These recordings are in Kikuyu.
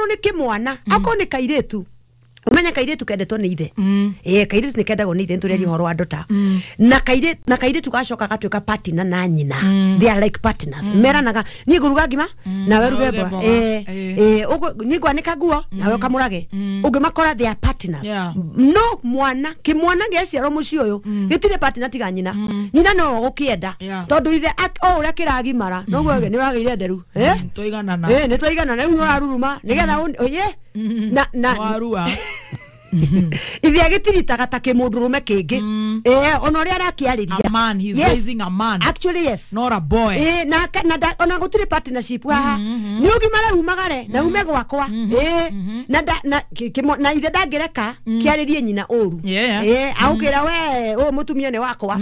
Okorwo nĩ kĩmwana, okorwo nĩ kairĩtu, umenya kairĩtu kendetwo nĩ ithe. Kairĩtu nĩ kendagwo nĩ ithe, nĩtũrĩaria ũhoro wa ndota. Na kairĩtu gacoka gatuĩka partner na nyina. They are like partners. Meranaga niĩ ngũruga ngima nawe ruge mboga. Niĩ ngwanĩka nguo nawe ũkamũrage. Ũngĩmakora they are partners. No mwana kĩmwana gĩaciarwo mũciĩ ũyũ gĩtirĩ partner tiga nyina. Nyina no ũgũkĩenda tondũ ithe o ũrĩa kĩragimara noguo nĩ wagĩire nderu. Tũiganana. Nĩ tũiganana rĩu nĩ ũraruruma nĩgetha na warua. Ithe agĩtiritaga ta kĩmũndũrũme kĩngĩ. Ona ũrĩa arakĩarĩria. A man, he's raising a man. Actually yes. Not a boy. Na ona gũtirĩ partnership haha. Nĩ ũgimare umagare na ume gwakwa. Na ithe ndangĩreka kĩarĩrie nyina ũru. Aũkĩra we ũyũ mũtumia nĩ wakwa.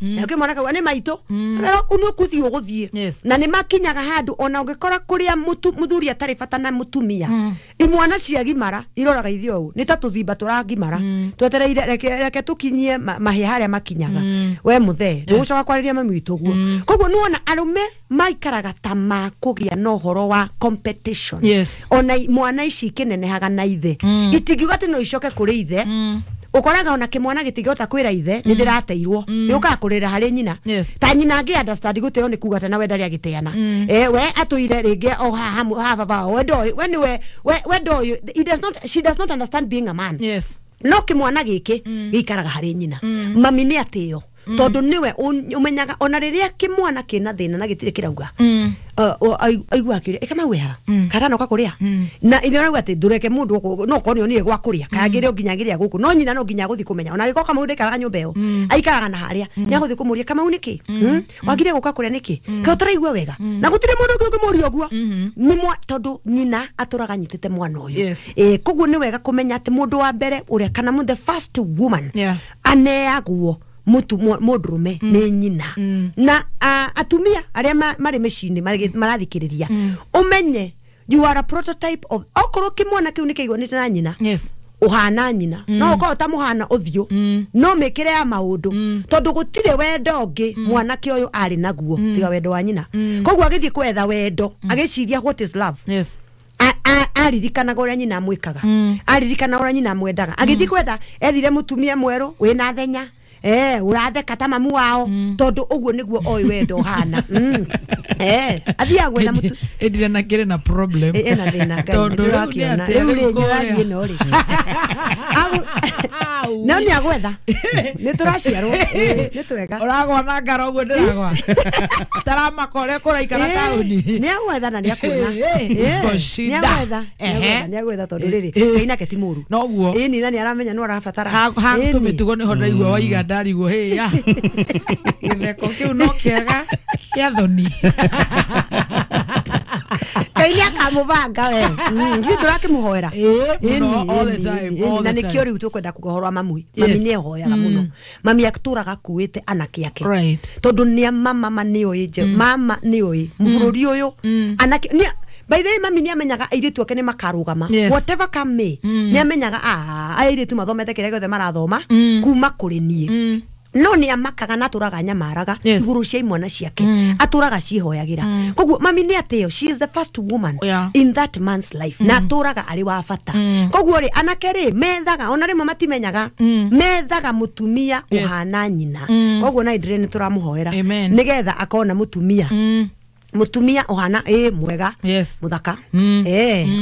Na ũkĩmwana kauga nĩ maitũ. Nĩ ũkũthiĩ ũgũthiĩ. Na nĩ makinyaga handũ ona ũngĩkora kũrĩa mũthuri atarĩ bata na mũtumia. Imwana ciagimara iroraga ithe ũũ nĩ ta tũthimba tũragimara twetereire reke tũkinyie mahĩa harĩa makinyaga. We mũthee ndũgũcoka kwarĩria mami witũ ũguo. Koguo nĩwona arũme maikaraga ta makũgĩa na ũhoro wa competition. Ona mwana ici ikĩnenehaga na ithe itingiuga atĩ no icoke kũrĩ ithe. Ũkoraga ona kĩmwana gĩtingĩhota kwĩra ithe nĩ ndĩrateirwo, gĩũkaga kũrĩra harĩ nyina. Ta nyina angĩ understand gũteo nĩ kuga atĩ na we ndarĩ agĩteana. We atũire rĩngĩ o haha baba we ndoĩ we nĩwe we ndoĩ he does not, she does not understand being a man. No kĩmwana gĩkĩ gĩikaraga harĩ nyina. Mami nĩ atĩo tondũ nĩwe ũmenyaga ona rĩrĩa kĩmwana kĩna thĩna na gĩtirĩ kĩrauga aigua akĩũria ĩka ha kana noka kũrĩa na ithe arauga atĩ ndũreke mũndũ no korwo nĩ gwa kũrĩa kangĩrĩ nginya agĩrĩa gũkũ no nyina no nginya agũthiĩ kũmenya ona agĩkorwo Kamau ndaikaraga nyũmba ĩyo aikaraga na harĩa nĩ agũthiĩ kũmũria Kamau nĩkĩ wagire gũka kũrĩa nĩkĩ kaĩ ũtaraigua wega na gũtirĩ mũndũ ũngĩ ũngĩmũria ũguo nĩ tondũ nyina atũraga anyitĩte mwana ũyũ. Koguo nĩ wega kũmenya atĩ mũndũ wa mbere ũrĩa kana the first woman aneagwo mũndũrũme nĩ nyina. Na atumia arĩa marĩ mĩciĩ-inĩ marathikĩrĩria ũmenye you are a prototype of okorwo kĩmwana kĩu nĩkĩiguanĩte na nyina. Ũhana nyina no ũkorwo ta mũhana ũthiũ no mĩkĩre ya maũndũ tondũ gũtirĩ wendo ũngĩ mwanake ũyũ arĩ naguo tiga wendo wa nyina. Koguo agĩthiĩ kwetha wendo agĩciria what is love. Aririkanaga ũrĩa nyina amwĩkaga, aririkanaga ũrĩa nyina amwendaga, agĩthiĩ kwetha ethire mũtumia mwerũ wĩna thenya uratheka ta mamu wao tondu uguo niguo oi wendo hana. Athiaga gwetha mutu endire na kire na problem ena thina tondu urakiona riu ri ngirathie no ri no ni agwetha ni turaciarwo ni twega uragwa na ngaro uguo ndiragwa taramakore kuraikara tauni ni agwetha na ni akuona ni agwetha ni agwetha tondu riri kainake ti muru noguo ni na ni aramenya no arabatara ha tumitugo niho ndaigua waiga ndarigwo he ya githeko kiu no kiega kia thoni Kaini akamubanga we ngi ndurakimuhoera na nikio riu tukwenda kuga horo wa mamui. Mami ni ehoyaga muno. Mami aturaga kuite anake ake tondu ni mama ni oi mama ni oi mbururi uyu anake ni. By the way, mami ni amenyaga airitu ake ni makarugama. Whatever come may ni amenyaga airitu mathomete kiria giothe marathoma kuma kuri nie. No ni amakaga na aturaga nyamaraga iguru cia imwana ciake aturaga cihoyagira. Koguo mami ni ateo, she is the first woman in that man's life na aturaga ari wa bata. Koguo ri anake ri methaga ona rimwe matimenyaga methaga mutumia uhana nyina. Koguo na indire ni turamuhoera nigetha akona mutumia mutumia ohana mwega muthaka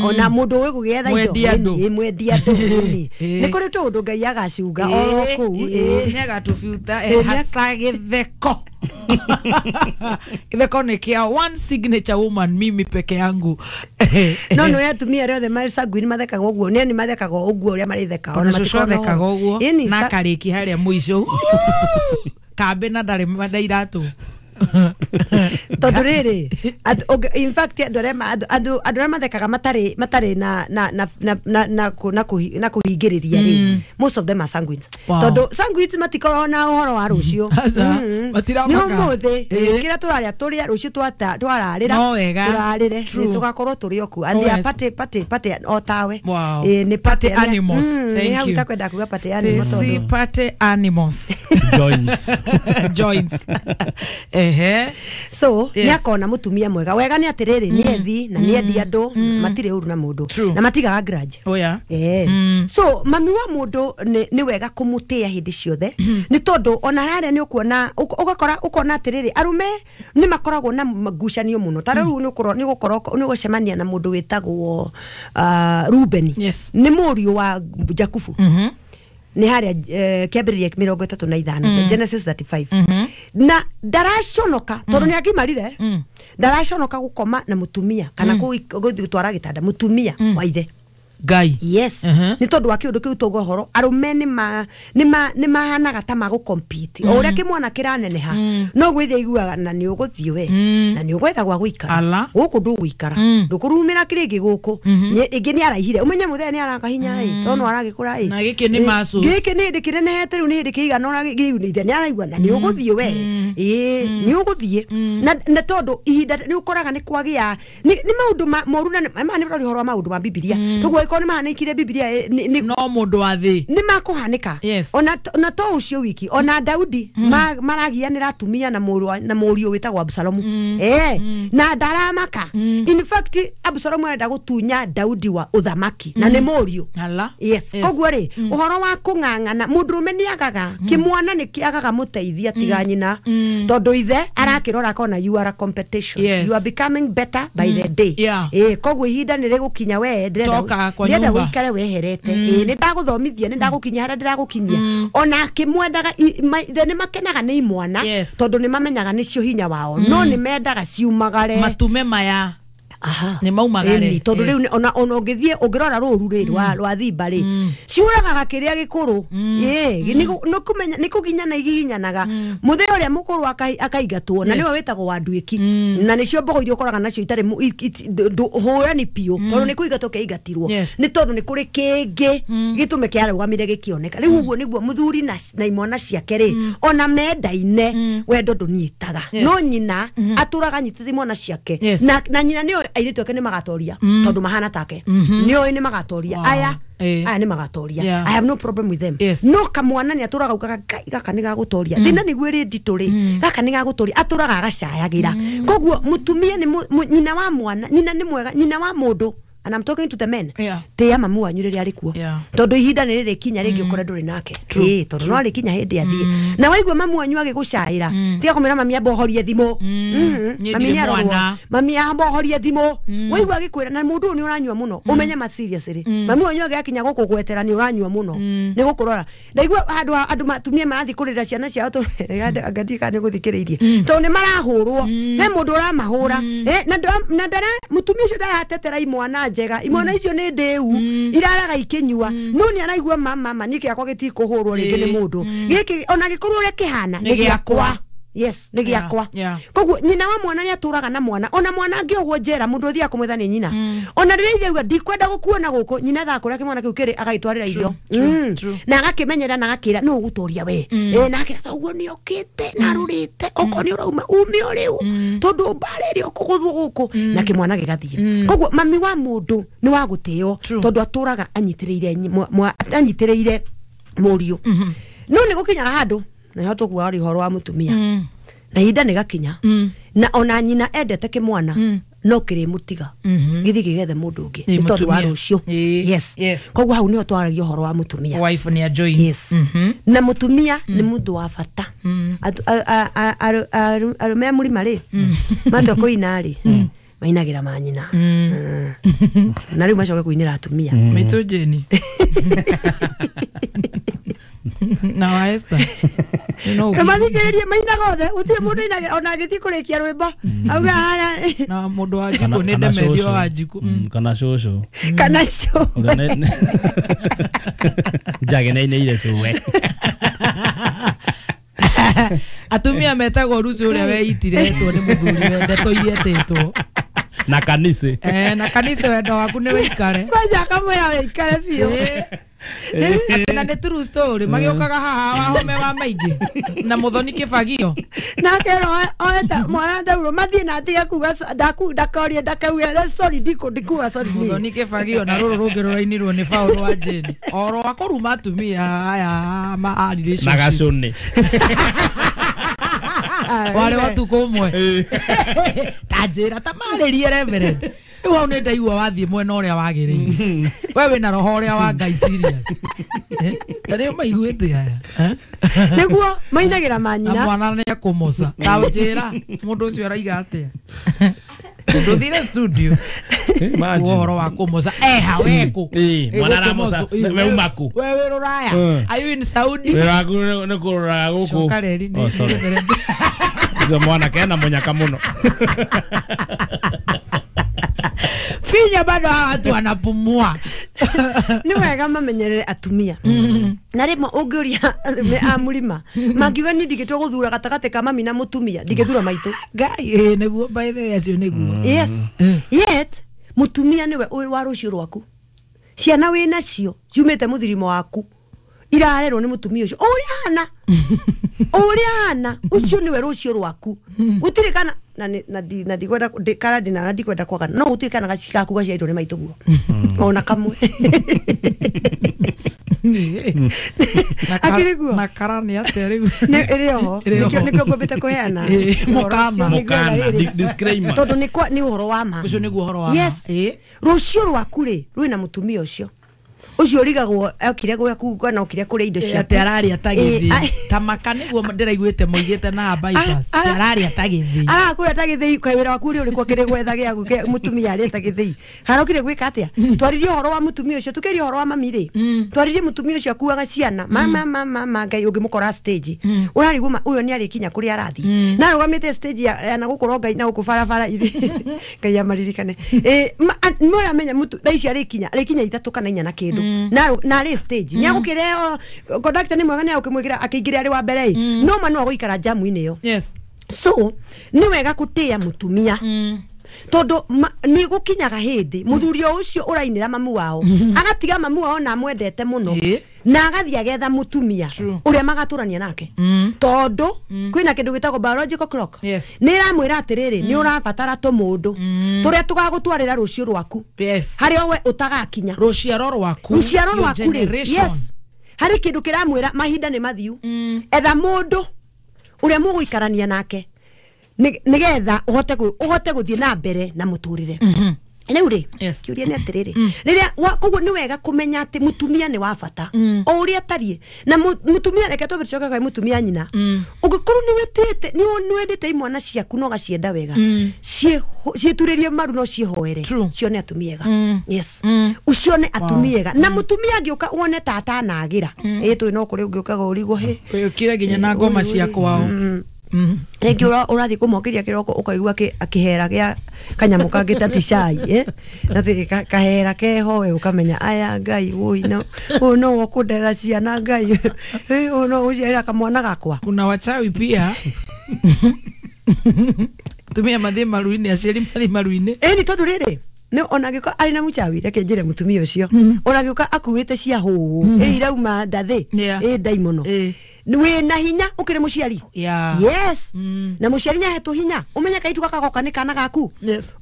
ona mundu wi gugietha indo mwendia andu ni kuri tundu Ngai agaciuga oro kuu ni agatubuta hasa githeko githeko ni kia one signature woman mimi peke yangu no no atumia aria othe mari sanguine mathekaga uguo ni mathekaga uguo uria maritheka ona matikoragwo uguo na kariki haria muico kambe na ndari ndairatu tondu riri in fact andu aria mathekaga matari na na na na na na kuhingiriria ri most of them are sanguines tondu sanguines matikoragwo na uhoro wa rucio ni umuthi kira turaria turia rucio twararira turarire tugakorwo turi oku and they are party party party o tawe ni party animals. Thank you. Utakwenda kuga party animals tondu party animals joins joins. Ehe. So Yes. nĩ akona mũtumia mwega. Wega nĩ atĩrĩrĩ, nĩ ethi na nĩ endi andũ, matirĩ ũru na mũndũ True. na matigaga grudge. Oh yeah. So mami wa mũndũ nĩ wega kũmũtĩĩa hĩndĩ ciothe, nĩ tondũ ona harĩa nĩ ũkuona ũgakora ũkona atĩrĩrĩ, arũme nĩ makoragwo na ngucanio mũno. Ta rĩu nĩ ũgũcemania na mũndũ wĩtagwo Rubeni. Yes. Nĩ mũriũ wa Jakubu. Nĩ harĩa kĩambĩrĩria 35, Genesis 35. Na ndaraconoka tondũ nĩ agimarire, ndaraconoka gũkoma na mũtumia kana gũtwara gĩtanda mũtumia wa ithe. Ngai. Yes. Nĩ tondũ wa kĩũndũ kĩu tũgwo horo, arũme nĩ mahanaga ta magũ compete. O ũrĩa kĩmwana kĩraneneha no gwĩthia iguaga na nĩ ũgũthiĩ we na nĩ ũgwetha gwa gũikara gũkũ ndũgũikara, ndũkũrumĩra kĩrĩngĩ gũkũ. Ĩngĩ nĩ araihire, ũmenye mũthee nĩ arakahinya ĩ, tondũ no aragĩkũra ĩ. Na gĩkĩ nĩ muscles. Gĩkĩ nĩ hĩndĩ kĩnenehete rĩu, nĩ hĩndĩ kĩigana ũna gĩu ithe nĩ araigua na nĩ ũgũthiĩ we. Ĩĩ, nĩ ũgũthiĩ. Na tondũ ihinda nĩ ũkoraga nĩ kwagĩa nĩ maũndũ moru, na ma nĩ ũrori ũhoro wa maũndũ ma Bibilia. Toguo ĩkorwo nĩ mahanĩkire Bibilia no mũndũ wa thĩ nĩ makũhanĩka. Yes. Ona to ũcio wiki, ona Daudi maragianĩra atumia na mũriũ wĩtagwo Absalomu. Na ndaramaka. In fact Absalomu arenda gũtunya Daudi wa ũthamaki na nĩ mũriũ. Yes. Koguo rĩ, ũhoro wa kũng'ang'ana mũndũrũme nĩ agaga, kĩmwana nĩ kĩagaga mũteithia tiga nyina, tondũ ithe arakĩrora akona you are a competition. Yes. You are becoming better by the day. Koguo ihinda nĩ rĩgũkinya we ndĩrenda wĩikare weherete. Nĩ ndagũthomithia, nĩ ndagũkinyia harĩa ndĩragũkinyia. Ona akĩmwendaga ithe nĩ makenaga nĩ imwana, tondũ nĩ mamenyaga nĩcio hinya wao, no nĩ mendaga ciumagare matume maya. Aha. Nĩ maumagare. Tondũ rĩu ona ũngĩthiĩ ũngĩrora rũru rĩ rwa thimba rĩ, ciũragaga kĩrĩa gĩkũrũ. Nĩ kũginyana igiginyanaga. Mũthee ũrĩa mũkũrũ akaingatwo, na nĩwe wĩtagwo wa nduĩki. Na nĩcio mbogo iria ũkoraga nacio itarĩ hũrani biũ, tondũ nĩ kũingatwo kĩaingatirwo. Nĩ tondũ nĩ kũrĩ kĩngĩ gĩtũme kĩarũgamire gĩkĩoneka. Rĩu ũguo nĩguo mũthuri na imwana ciake rĩ, ona mendaine wendo ndũnyitaga. No nyina atũraga anyitĩte imwana ciake. Na nyina nĩoĩ airĩtu ake nĩ magatoria, tondũ mahana take. Nĩoĩ nĩ magatoria. Aya nĩ magatoria. I have no problem with them. No kamwana nĩ atũraga augaga Ngai gaka nĩ gagũtoria. Thĩna nĩguo ĩrĩ nditũ rĩ, gaka nĩ gagũtoria, atũraga agacayagĩra. Koguo mũtumia nĩ nyina wa mwana, nyina nĩ mwega, nyina wa mũndũ. And I'm talking to the men. Tĩa mamu wanyu rĩrĩa arĩ kuo. Tondũ ihinda nĩ rĩrĩkinya rĩngĩ ũkore ndũrĩ nake. Tondũ no rĩkinya hĩndĩ athiĩ. Na waigua mamu wanyu agĩgũcaĩra, tiga kũmwĩra mami amba ũhorie thimũ. Mami nĩ arorwo. Mami amba ũhorie thimũ. Waigua agĩkwĩra na mũndũ ũyũ nĩ ũranyua mũno, ũmenye ma serious rĩ. Mami wanyu agĩakinya gũkũgwetera nĩ ũranyua mũno. Nĩ gũkũrora. Ndaigua handũ andũ atumia marathiĩ kũrĩra ciana ciao tondũ ngandi kana nĩ gũthikĩrĩirie. Tondũ nĩ marahũrwo. He mũndũ ũramahũra. Na ndara mũtumia ũcio ndaratetera imwana njega. Imwana icio nĩ ndĩu, iraraga ikĩnyua. No nĩ araigua mama niĩ gĩakwa gĩtikũhũrwo rĩngĩ nĩ mũndũ. Gĩkĩ ona gĩkorwo ũrĩa kĩhana nĩ gĩakwa. Yes, nĩ gĩakwa. Koguo nyina wa mwana nĩ atũraga na mwana. Ona mwana angĩohwo njera mũndũ ũthiaga kũmwetha nĩ nyina. Ona rĩrĩa ithe auga ndikwenda gũkuona gũkũ, nyina ethaga kũrĩa kĩmwana kĩu kĩrĩ agagĩtwarĩra irio. Na agakĩmenyera na agakĩra nũ ũgũtũria we. Na akĩra toguo nĩ okĩte na arũrĩte, okorwo nĩ ũrauma ume o rĩu, tondũ mbara ĩrĩa ũkũgũthwo gũkũ, na kĩmwana gĩgathiĩ. Koguo mami wa mũndũ nĩ wa gũtĩo, tondũ atũraga anyitĩrĩire mũriũ. No nĩ gũkinyaga handũ na nĩho tũkuaga ũhoro wa mũtumia. Na ihinda nĩ gakinya, na ona nyina endete kĩmwana no kĩrĩmũtiga gĩthiĩ kĩgethe mũndũ ũngĩ nĩ tondũ wa rũciũ. Yes. Koguo hau nĩho twaragia ũhoro wa mũtumia. Wife nĩ ajoin. Yes. Na mũtumia nĩ mũndũ wa bata. Arũme a mũrima rĩ, matua kũina rĩ, mainagĩra manyina. Na rĩu macoke kũinĩra atumia. Maitũ Jane. Na wa Esther. Na mathikĩrĩrie mainaga othe, gũtirĩ mũndũ ainagĩra ona agĩthiĩ kũrĩkia rwĩmbo auga haya. Na mũndũ wa njikũ nĩ ndemerio wa njikũ. Kana cũcũ. Kana cũcũ. Njage nĩ ainĩire cũwe. Atumia metagwo Rusi ũrĩa weitiretwo nĩ mũthuri ndeto iria etĩtwo. Na kanitha. Na kanitha wendo waku nĩ wĩikare. Kwanja akamwĩra wĩikare biũ. Na nĩ true story magĩũkaga haha wahome wa maingĩ na mũthoni kĩbagio na akera oeta mwana ndaurwo mathiĩ na atige kuga ndakorie ndakauge sorry ndikuga sorry niĩ. Mũthoni kĩbagio na rũrũ rũngĩ rũrainirwo nĩ Paul wa Jane oro wa kũruma atumia aya ma relationship na gacũnĩ. Warĩ wa tukũ ũmwe. Ta njĩra ta marĩrie reverend. Rĩu hau nĩ ndaigua wathiĩ mwena ũrĩa wagĩrĩire. We wĩna roho ũrĩa wa Ngai serious. Na nĩo maiguĩte aya. Nĩguo mainagĩra manyina. Na mwana nĩ ekũmoca. Ta njĩra mũndũ ũcio araiga atĩa. Nduthire studio. Ũhoro wa kũmoca. Eha weku. Mwana aramoca. We umaku. We wĩ rũraya. Are you in Saudi? Wĩra waku nĩ kũrũraga gũkũ. Coka reri nĩ reverend. Ũcio mwanake ena mũnyaka mũno. Finya bado hawa watu wanapumua. Nĩ wega mamenyerere atumia. Na rĩmwe ũngĩũria a mũrima mangiuga niĩ ndingĩtua gũthura gatagatĩ ka mami na mũtumia ndingĩthura maitũ. Ngai nĩguo by the way acio nĩguo. Yes. Yet mũtumia nĩwe wa rũciũ rwaku. Ciana wĩ nacio ciumĩte mũthirimo waku irarerwo nĩ mũtumia ũcio ũrĩa hana. Ũrĩa hana ũcio nĩwe rũciũ rwaku. Gũtirĩ kana na ndikwenda kana ndina na ndikwenda kwagana no gũtirĩ kana gacigaku gaciarirwo nĩ maitũ guo ona kamwe. Akĩrĩguo na kara nĩ atĩa rĩu nĩ ĩrĩ oho nĩkĩo ngwambĩte kũheana mũkana disclaimer tondũ nĩ ũhoro wa ma. Ũcio nĩguo ũhoro wa ma. Yes. Rũciũ rwaku rĩ rwĩna mũtumia ũcio ũcio ũrigagwo okire gwaku kana okire kũrĩa indo ciaku. Atĩ araria ta gĩthĩi. Ta maka nĩguo ndĩraiguĩte moigĩte na bypass. Araria ta gĩthĩi. Arakũrĩa ta gĩthĩi kaĩ wĩra waku ũrĩ ũrĩkũ akĩrĩ gwetha gĩaku mũtumia arĩa ta gĩthĩi. Harokire gwĩka atĩa? Twaririe ũhoro wa mũtumia ũcio tũkĩaria ũhoro wa mami rĩ. Twaririe mũtumia ũcio akuaga ciana. Mama mama Ngai ũngĩmũkora stage. Ũrarigwo ũyũ nĩ arĩkinya kũrĩa arathiĩ. Na arũgamĩte stage ya na gũkũ Ngai na gũkũ barabara ithi. Ngai amaririkane. Nĩ ũramenya thaa ici arĩkinya ithatũ kana inya na kĩndũ. Na arĩ stage nĩ agũkĩreo conductor nĩ mwega nĩ agũkĩmwĩkĩra akĩingĩra arĩ wa mbere no ma no agũikara jamu-inĩ ĩyo. Yes. So nĩ wega gũtĩĩa mũtumia tondũ nĩ gũkinyaga hĩndĩ mũthuri ũcio ũrainĩra mamu wao agatiga mamu wao na amwendete mũno na agathiĩ agetha mũtumia ũrĩa magatũrania nake tondũ kwĩna kĩndũ gĩtagwo biological clock. Nĩ ĩramwĩra atĩrĩrĩ nĩ ũrabatara tũmũndũ tũrĩa tũgagũtwarĩra rũciũ rwaku harĩa we ũtagakinya rũciaro rwaku rũciaro rwaku rĩ. Yes. Harĩ kĩndũ kĩramwĩra mahinda nĩ mathiu etha mũndũ ũrĩa mũgũikarania nake nĩgetha ũhote gũthiĩ na mbere na mũtũrĩre. Rĩu rĩ kĩũria nĩ atĩrĩrĩ rĩrĩa koguo nĩ wega kũmenya atĩ mũtumia nĩ wa bata o ũrĩa atariĩ na mũtumia reke twambe tũcoke kwĩ mũtumia nyina. Ũngĩkorwo nĩ wendete imwana ciaku na ũgacienda wega ciĩturĩrie maru no ciĩhoere cione atumia ega. Yes. Ucione atumia ega na mũtumia angĩũka wone ta atanagĩra ĩ tũĩ no kũrĩ ũngĩũkaga ũrigwo hĩ ũkire nginya na ngoma cia kwao. Rĩngĩ ũrathiĩ kũmokĩria kĩroko ũkaigua akĩhera gĩa kanyamũ kangĩ ta ti cai na kahera keho we ũkamenya aya Ngai wũi no ũyũ no ũkũndera ciana Ngai ũyũ no ũciarĩra kamwana gakwa. Kuna wachawi pia. Tumia mathiĩ maru-inĩ aciari mathiĩ maru-inĩ. Ĩni tondũ rĩrĩ nĩ ona angĩkorwo arĩ na mũchawi reke njĩre mũtumia ũcio ona angĩũka akuĩte cia hũũ ĩ irauma ndathĩ ĩ ndaimono wĩna hinya ũkĩrĩ mũciari. Yes. Na mũciari nĩahetwo hinya ũmenye kairĩtu gaka goka nĩ kana gaku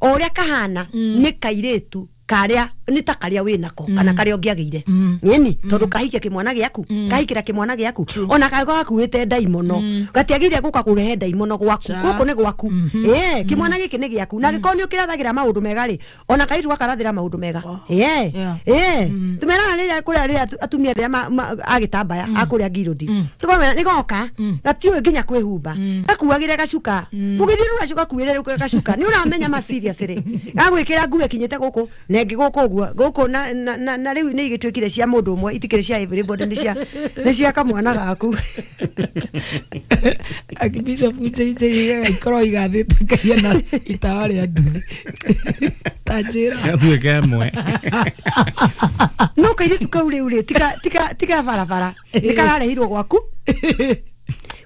o ũrĩa kahana nĩ kairĩtu karĩa nĩ ta karĩa wĩnako kana karĩa ũngĩagĩire nyeni tondũ kahikia kĩmwana gĩaku kahikĩra kĩmwana gĩaku ona kangĩkorwo gakuĩte ndaimono gatiagĩrĩire gũka kũrehe ndaimono gwaku gũkũ nĩ gwaku kĩmwana gĩkĩ nĩ gĩaku na angĩkorwo nĩ ũkĩrathagĩra maũndũ mega rĩ ona kairĩtu gakarathĩra maũndũ mega. Tũmeraga rĩrĩa kũrĩa rĩrĩa atumia rĩrĩa agĩtambaya akũrĩa ngirũndi nĩ goka gatiũĩ nginya kwĩhumba gakuagĩre gacuka mũgĩthiĩ rũracio gakuĩre gacuka nĩ ũramenya ma serious rĩ gagwĩkĩra nguo ĩkinyĩte gũkũ na ĩngĩ gũkũ ũguo gũkũ na rĩu nĩ igĩtuĩkire cia mũndũ ũmwe itikĩrĩ cia everybody nĩ cia kamwana gaku. Archbishop Njĩra ikorwo igathĩtwo ikahiana itawa rĩa nduthi ta njĩra gatuĩke ĩmwe no kairĩtu kau rĩu rĩ tiga barabara nĩ kararehirwo gwaku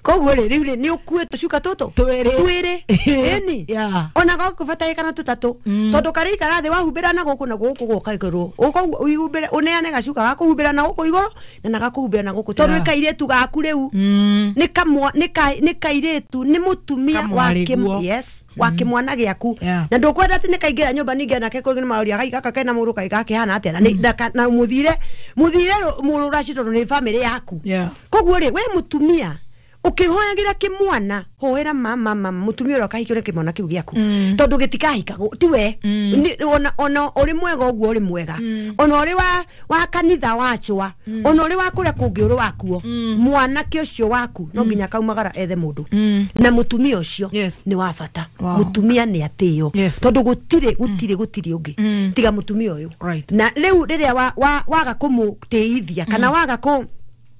koguo rĩ rĩu rĩ nĩ ũkuĩte tũcuka tũtũ twĩrĩ ĩni ona gakũbataĩkana tũtatũ tondũ karĩikara thĩ wahumbĩra na gũkũ na gũkũ gũka igũrũ ũhumbĩre ũneane gacuka gakũhumbĩra na gũkũ igũrũ na gakũhumbĩra na gũkũ tondũ nĩ kairĩtu gaku rĩu nĩ kairĩtu nĩ mũtumia wa kĩmwana gĩaku na ndũkwenda atĩ nĩ kaingĩra nyũmba ningĩ nake kũngĩ nĩ maroria gaka kena mũrũ kaĩ gakĩhana atĩa na mũthire mũrũraci tondũ nĩ bamĩrĩ yaku. Koguo rĩ we mũtumia Ukihoyagira kimwana hoera mama mama mutumia uria ukahikio ni kimwana kiu giaku tondu gitikahikagwo tiwe ona ona uri mwega uguo uri mwega ona uri wa kanitha wachwa ona uri wa kuria kungi uri wakuo mwanake ucio waku no nginya kaumagara ethe mundu na mutumia ucio ni wa bata. Mutumia ni atio tondu gutire gutire gutire ungi tiga mutumia uyu. Na riu riria waga kumutiithia kana waga ku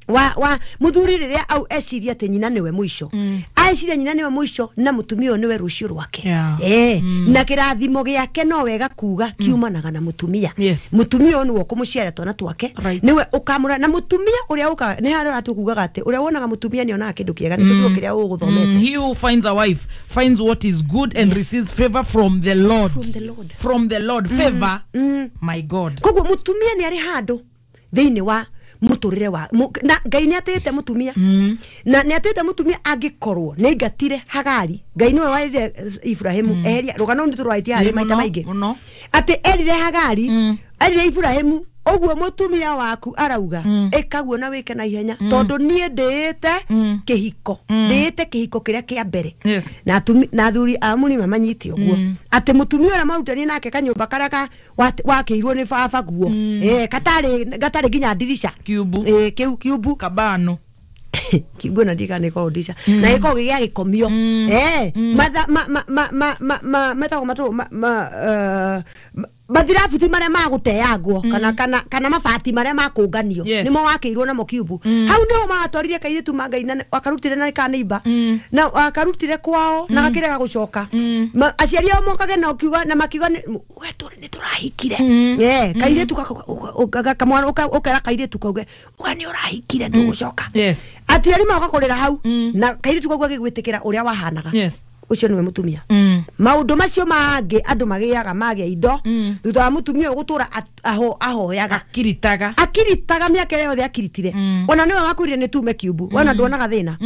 wa muthuri riria au eciria ati nyina niwe muico aeciria nyina niwe muico na mutumia niwe rucio rwake na kirathimo giake no wega kuga kiumanaga na mutumia. Mutumia niwe ukumuciara twana twake niwe ukamura na mutumia uria uka ni haria atukugaga ati uria wonaga mutumia ni onaga kindu kiega ni kindu kiria uguthomete. He who finds a wife finds what is good and receives favor from the Lord. From the Lord. From the Lord. Favor. My God. Koguo mutumia ni ari handu thiini wa muturire wa na Ngai ni atete mutumia na ni atete mutumia angikorwo ni aingatire Hagari. Ngai niwe wairire Ibrahimu eheria rugano ndi turwaitie hari maita maingi ati erire Hagari erire Ibrahimu uguo mutumia waku arauga ikaguo na wike na ihenya tondu nie ndiite kihiko ndiite kihiko kiria kia mbere na na athuri a murima manyite uguo ati mutumia uria marutanie nake kanyumba karia wakiirwo ni baba guo katari gatari nginya ndirisha kiubu kiu kiubu kabano kiubu na ndika ni ko ndirisha na giko gĩa gĩkomio matha ma ma ma ma metagwo matu ma mathirabuti maria maguteangwo kana kana kana mabati maria makunganio nimo wakiirwo namo kiubu hau niho magatwarire kairitu ma Ngai na akarutire na kaneiba na akarutire kwao na gakirega gucoka aciari ao mokage na ukiuga na makiuga we turi ni turahikire kairitu kamwana ukera kairitu kauge uga ni urahikire ndugucoka atiari moka kurira hau na kairitu kauga gigwitikira uria wahanaga. Ucio niwe mutumia. Maundu macio mangi andu magiaga magia indo thutha wa mutumia gutura ahoyaga akiritaga miaka ĩrĩa yothe akiritire ona niwe wakwire ni tume kiubu wona nduonaga thina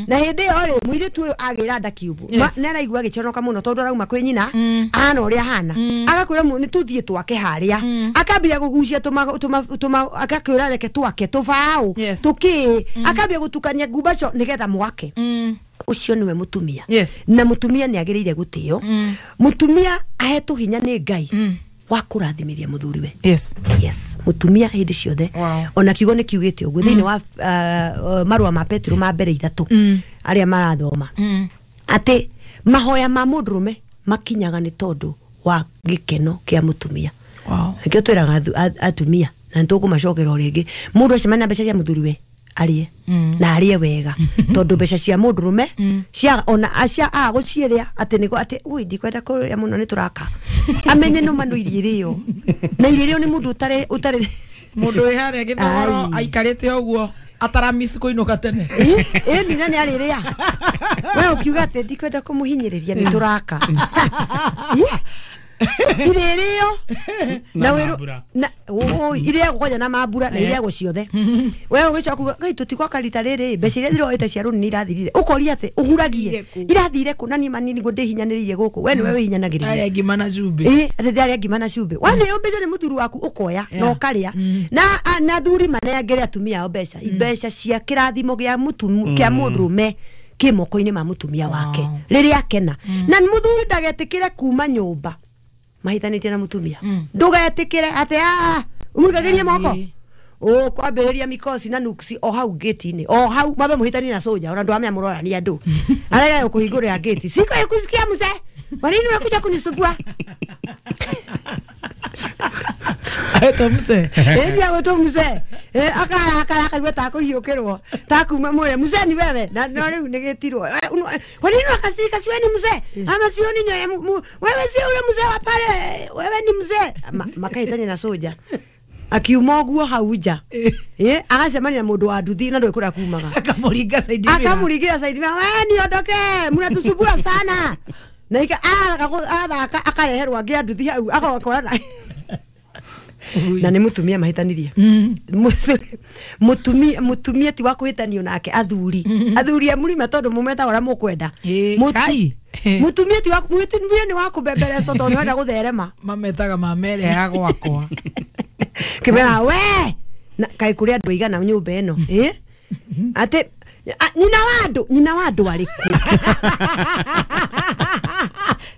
na hindi ĩyo ri muiritu uyu agira nda kiubu ni araigua agiconoka muno tondu arauma kwi nyina ahana uria ahana agakwira ni tuthie twake haria akambia gugucia tuma akakwira reke twake tubao tuki akambia gutukania ngumbaco nigetha mwake. Ucio niwe mutumia. Na mutumia ni agiriire gutio. Mutumia ahetwo hinya ni Ngai wa kurathimithia muthuriwe. Yes. Mutumia hindi ciothe. Ona kiugo ni kiugite uguo thiini wa marua ma Petro ma mbere 3 aria marathoma ati mahoya ma mundurume makinyaga ni tondu wa gikeno kia mutumia. Nikio twiraga atumia na nitukumacokera o ringi mundu acemania mbeca cia muthuriwe arie na arie wega tondu mbeca cia mundurume cia ona acia a guciiria ati niko ati ui ndikwenda kuria muno ni turaka amenye no manu irio na irio ni mundu utare mundu wi haria githoro aikarite uguo ataramisi kuinuka tene ni nani ariria we ukiuga ati ndikwenda kumuhinyiriria ni turaka irio na weru na iria kwanja na mambura na iria ciothe we ugicoka ngai tutigwaka rita riri mbeca iria ndiroete cia runi irathirire ukoria ati uhuragie irathire ku na ni manini ngo ndihinyaniririe guku we niwe wihinyanagiriria aria ngima na cumbĩ ati ndiaria ngima na cumbĩ we ni mbeca ni muthuri waku ukoya na ukaria na thuri manengere atumia ao mbeca mbeca cia kirathimo gia mutumia kia mundurume ki moko-inĩ ma mutumia wake riria akena na muthuri ndagetikire kuma nyumba mahitanitie na mutumia ndugetikire ati a umuikagirie moko ukwambiriria mikosi na nuksi o hau gate-ini o hau mabe muhitani na soja ona ndu amea murora ni andu arega kuhingurira gate siko kusikia mzee kwa nini unakuja kunisumbua Eto mzee ndia goto mzee akara akara akaigua ta kuhiukirwo ta kuma mwere mzee ni wewe na no riu ni gitirwo kwa nini unakasirika si wewe ni mzee ama sio ni wewe sio ule mzee wa pale wewe ni mzee makahitani na soja akiuma uguo hau nja agacemania na mundu wa nduthi na ndui kuria kumaga akamuringa side mirror akamuringira side mirror we niondoke mnatusumbua sana na ika athaka akareherwo angi a nduthi hau agokorana na ni mutumia mahitanirie mutumia ti wa kuhitanio nake athuri athuri a murima tondu mumetaga uria mukwenda mutumia ti wa mutumia ni wa kubembereco tondu wenda gutherema mametaga mamere ya gwakwa kimera we na kai kuria andu aigana nyumba ino ati Nyina wa andũ arĩkũ?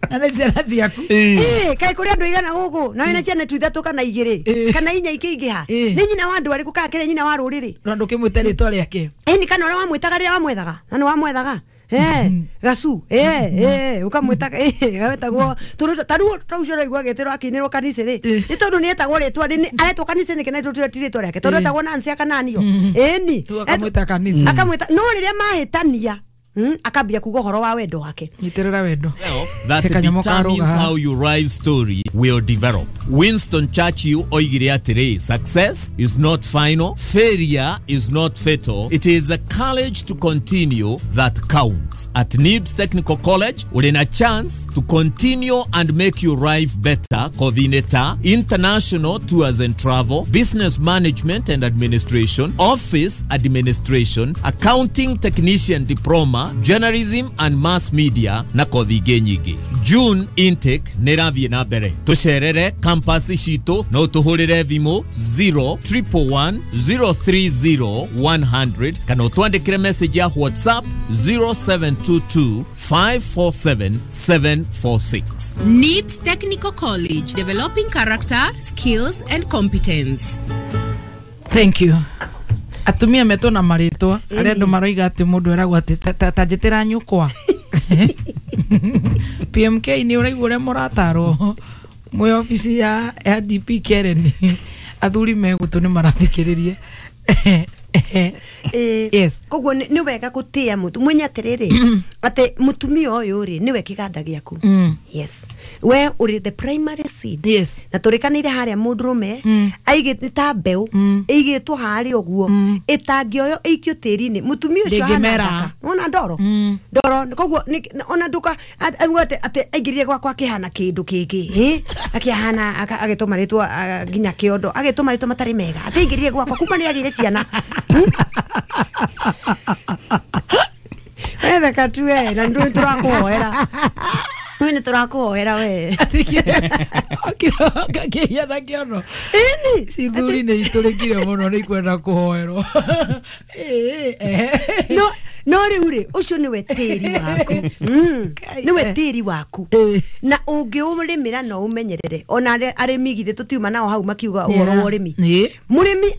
Na nĩ ciana ciaku. Kaĩ kũrĩ andũ aigana gũkũ na wĩna ciana tu ithatũ kana igĩrĩ kana inya ikĩingĩha. Nĩ nyina wa andũ arĩkũ kana kĩrĩa nyina wa rũrĩrĩ? Na ndũkĩmwĩte rĩtwa rĩake. Ĩni kana ũrĩa wamwĩtaga rĩrĩa wamwethaga? Na nĩ wamwethaga? Gacu ukamwĩtaga wetagwo ta rĩu ta ũcio ũraigua agĩtĩrwo akĩinĩrwo kanitha rĩ nĩ tondũ nĩ etagwo rĩtwa aretwo kanitha nĩkĩ na tũtira ti rĩtwa rĩake tondũ etagwo Nancy akananio ĩni akamwĩta kanitha akamwĩta no rĩrĩa mahĩtania akambia kuga ũhoro wa wendo wake. Nyitĩrĩra wendo. That determines how your life story will develop. Winston Churchill oigire atĩrĩ, success is not final, failure is not fatal. It is the courage to continue that counts. At NIBS Technical College, we're in a chance to continue and make your life better. Coordinator, international tours and travel, business management and administration, office administration, accounting technician diploma, journalism and mass media na kothi ingĩ nyingĩ. June intake nĩ ĩrathiĩ na mbere. Tũcerere campus citũ no tũhũrĩre thimũ 0 111 030 100 kana ũtwandĩkĩre message ya WhatsApp 0722 547 746. NIBS Technical College, developing character, skills and competence. Thank you. Atumia metwo na marĩtwa arĩa andũ maroiga atĩ mũndũ eragwo atĩ ta njĩtĩra nyũkwa. PMK nĩ ũraigua ũrĩa mũratarwo mwĩ obici ya DP Karen. Athuri megũtũ nĩ marathikĩrĩria. Yes. Koguo nĩ wega gũtĩa mũtu mwenye atĩrĩrĩ atĩ mũtumia ũyũ rĩ nĩwe kĩganda gĩaku. Yes. We ũrĩ the primary seed. Yes. Na tũrĩkanĩire harĩa mũndũrũme aigĩte ta mbeũ ĩigĩtwo harĩa ũguo ĩtangĩoywo ĩikio tĩri-inĩ mũtumia ũcio ahana ndaka. Wona ndoro? Ndoro koguo ona nduka auga atĩ aingĩrire gwakwa akĩhana kĩndũ kĩngĩ akĩhana agĩtũma rĩtwa nginya kĩondo agĩtũma rĩtwa matarĩ mega atĩ aingĩrire gwakwa kuma nĩ agĩire ciana. Wetheka tu we na ndu turakuhoera. We ni turakuhoera we. Okira na kiono. Eni cithuri ni iturikire muno ni kwenda kuhoerwo. No no riu ri ucio niwe tiri waku. Niwe tiri waku. Na ungiurimira no umenyerere. Ona arimi githe tutiuma nao hau makiuga uhoro wa urimi. Murimi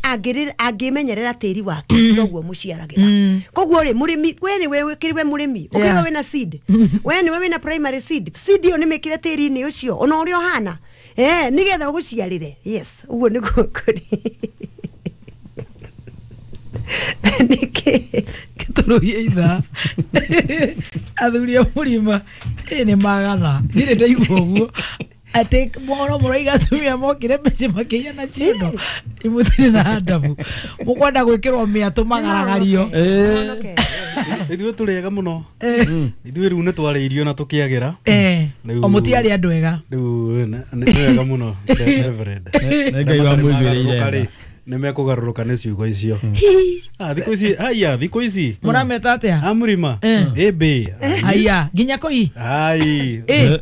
angimenyerera tiri wake noguo muciaragira. Koguo ri murimi we ni we ukiriwe murimi ukiriwe wina seed. We ni we wina primary seed. Seed iyo ni mikire tiri-ini ucio ona uria uhana. Nigetha uguciarire. Yes, uguo niguo kuri. Niki gĩtũrũhie ithaa athuri a mũrima nĩ magana ndirĩ ndaigua ũguo atĩ mohoro mũraiga atumia mokire mĩciĩ makĩiya na ciondo imũtirĩ na adabu mũkwenda gwĩkĩrwo mĩatũ magaragario. Ithuĩ tũrĩ ega mũno. Ithuĩ rĩu nĩ twarĩirio na tũkĩagĩra. O mũtiarĩ andũ ega. Rĩu nĩ wega mũno Reverend. Ngai wa mũiguĩrĩire. Nĩ mekũgarũrũka nĩ ciugo icio. Thikũ ici aya thikũ ici mũrameta atĩa amũrima ĩmbĩ aya nginya kũi ai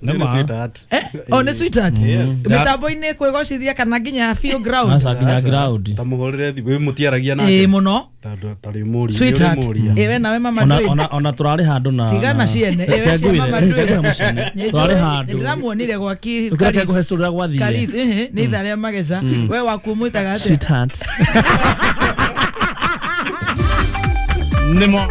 nĩ sweetheart. O nĩ sweetheart mĩtambo-inĩ kwĩgocithia kana nginya feel ground. Aca nginya ground ta mũhũrĩre thimũ mũtiaragia nake mũno tarĩ mũria sweetheart we nawe mama ndũĩ ona tũrarĩ handũ na tigana ciene ĩwe cia mama ndũĩ tũrarĩ handũ ndĩramuonire gwaki Karis nĩ ithaa rĩa mageca we waku ũmwĩtaga atĩa sweetheart. Nemo.